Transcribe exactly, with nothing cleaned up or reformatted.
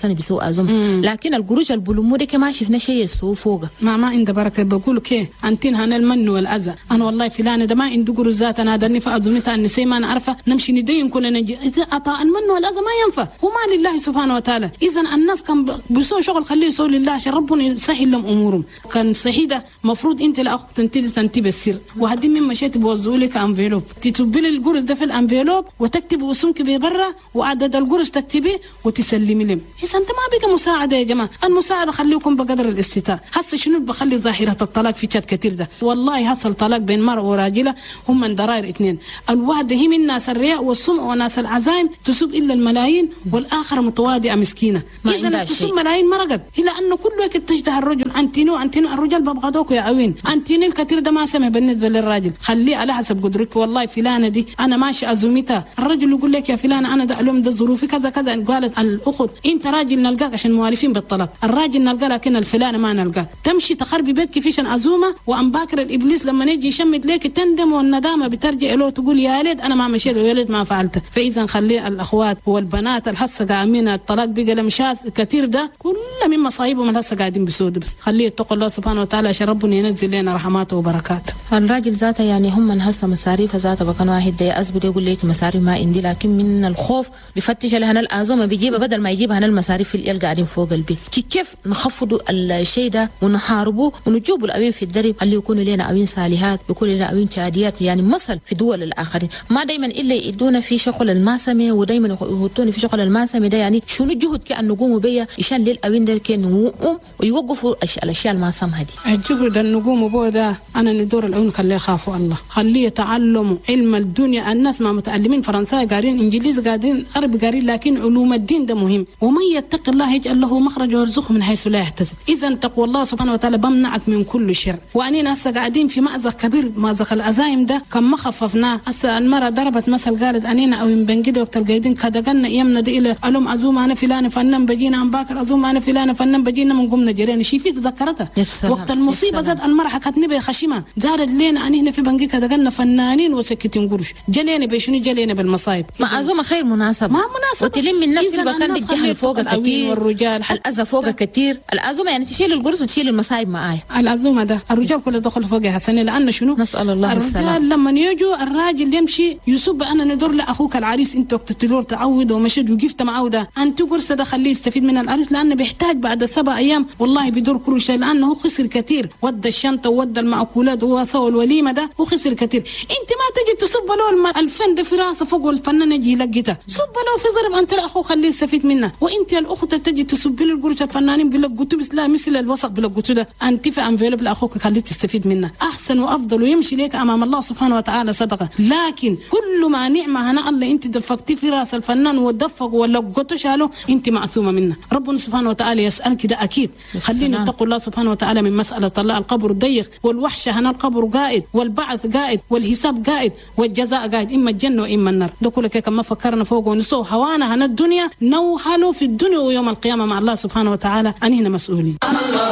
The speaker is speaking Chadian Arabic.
سنة بيسووا ازوم، لكن القروش البلومو ده ما شفنا شيء يسووا فوقه. ما ما عند بركة. بقول كي انتين هنا المن والاذى، انا والله فلان ده ما عنده قروش ذات، انا درني في ازومتها النسي ما نعرفه، نمشي ندين كلنا نجي عطاء المن والاذى ما ينفع، هو ما لله سبحانه وتعالى. اذا الناس كان بيسووا شغل خليه يسووا لله عشان ربنا يسهل لهم امورهم. كان صحيح ده مفروض انت الاخ تنتدي تنتبه السر، وهدي من مشيت بوزعوا لك enveloppe، تتبلي القرص ده في ال enveloppe وتكتب اسمك ببرا وعدد القرص تكتبيه وتسلمي لهم. اذا انت ما بقى مساعدة يا جماعة، المساعدة خليكم بقدر الاستطاعة. هسه شنو بخلي ظاهره الطلاق في تشاد كثير ده؟ والله حصل طلاق بين مرأة وراجله، هم من ضرائر اثنين، الواحدة هي من ناس الرياء والسمع وناس العزايم تسوب الا الملايين، والاخر متواضعة مسكينه. اذا تسوب ملايين مرقت، هي لانه كل وقت تجده الرجل انتينو انتينو، الرجال ببغضوك يا اوين انتينو الكثير ده ما سمع بالنسبة للراجل، خليه على حسب قدرك. والله فلانه دي انا ماشي ازومتها، الرجل يقول لك يا فلانه انا ده اليوم ده ظروفي كذا كذا، قالت الاخت انت راجل نلقاك عشان موالفين بالطلاق، الراجل نلقاه لكن الفلانه ما نلقاه. تمشي تخربي بيتك فيشن عزومة، وان باكر الابليس لما يجي يشمت لك تندم، والندامه بترجع له تقول يا ليت انا ما مشيت ويا ليت ما فعلت. فاذا خلي الاخوات والبنات الحسه قاعدين الطلاق بقى لمشاس كثير ده كل من مصايبهم الحسه قاعدين بسود، بس خليه يتقوا الله سبحانه وتعالى عشان ربنا ينزل لنا رحماته وبركاته. الراجل ذاته يعني هم من هسه مصاريف ذاته بكون واحد ده أزبد يقول لك مصاريف ما عندي، لكن من الخوف بفتش لهنا الأزمة بيجيبها بدل ما يجيبها هنا المصاريف اللي قاعدين فوق البيت. كيف نخفضوا الشيء ده ونحاربه ونجيبوا الأوين في الدرب اللي يكونوا لنا أوين صالحات، يكونوا لنا أوين شاديات، يعني مثل في دول الآخرين. ما دايما إلا يدونا في شغل الماسمة ودايما يحطونا في شغل الماسمة ده، يعني شنو الجهد كأن نقوموا بيه عشان للأوين ده كأن ويوقفوا الأشياء الماسمة دي. الجهد النقوم بيه ده أنا ندور الأوين خليه يخافوا الله، خليه يتعلموا علم الدنيا. الناس ما متعلمين فرنسا قارين إنجليز قارين عربي قارين، لكن علوم الدين ده مهم. ومن يتق الله يجعل له مخرج ويرزقه من حيث لا يحتسب. إذا تقوى الله سبحانه وتعالى بمنعك من كل شر. وأننا هسه قاعدين في مأزق كبير، مأزق الأزايم ده كم ما خففناه. هسه المرأة ضربت مثل قالت أنينا أو بنجد وقت القايدين كدقنا يمنا دي إلى ألوم أزوم أنا فلان فنان بجينا أم باكر أزوم أنا فلان فنان بجينا من قمنا جرينا شي في تذكرتها وقت المصيبة زاد المرأة حكتني بخشمة قالت لنا أني هنا في بنجي كدقنا فنانين وسكتين قروش جلينا بشنو جلينا بالمصايب. ما أزوم خير مناسبة، ما مناسبة وتلم الناس اللي كان الجهل فوق كثير والرجال الأذى فوق كثير. الأزومة يعني تشيل القرص وتشيل المصايب معايا. الأزومة ده الرجال كله دخل فوقها حسن، لأن شنو نسأل الله السلامة. الرجال لما يجوا الراجل يمشي يسب أنا ندور لأخوك العريس أنت وقت تدور تعود ومشيت وقفت معه ده أنت قرص ده خليه يستفيد من العريس، لأنه بيحتاج بعد سبع أيام والله بيدور كل شيء، لأنه خسر كثير، ودى الشنطة وودى المأكولات وسوى الوليمة ده وخسر كثير. أنت ما تجي تصب له الفن ده في راسه فوق والفنان يجي يلقيته صب له في ضرب أنت لأخوه خليه يستفيد منه، وأنت الأخت تجي تصب له القرش الفنانين بيلقطوا بس لا مثل الوسط بيلقطوا ده أنت في enveloppe لأخوك خليه تستفيد منه أحسن وأفضل ويمشي لك أمام الله سبحانه وتعالى صدقة. لكن كل ما نعمة هنا الله أنت دفقتي في راس الفنان ودفق ولا قطش شاله أنت معثومة منه. ربنا سبحانه وتعالى يسألك ده أكيد. خلينا نتقوا الله سبحانه وتعالى من مسألة الله. القبر ضيق والوحشة هنا القبر قائد والبعث قائد والحساب قائد والجزاء قائد، إما الجنة وإما النار. ده كله كما فكرنا فوق ونسو هوانا هنا الدنيا نوحلوا في الدنيا ويوم القيامة مع الله سبحانه وتعالى أنهنا مسؤولين.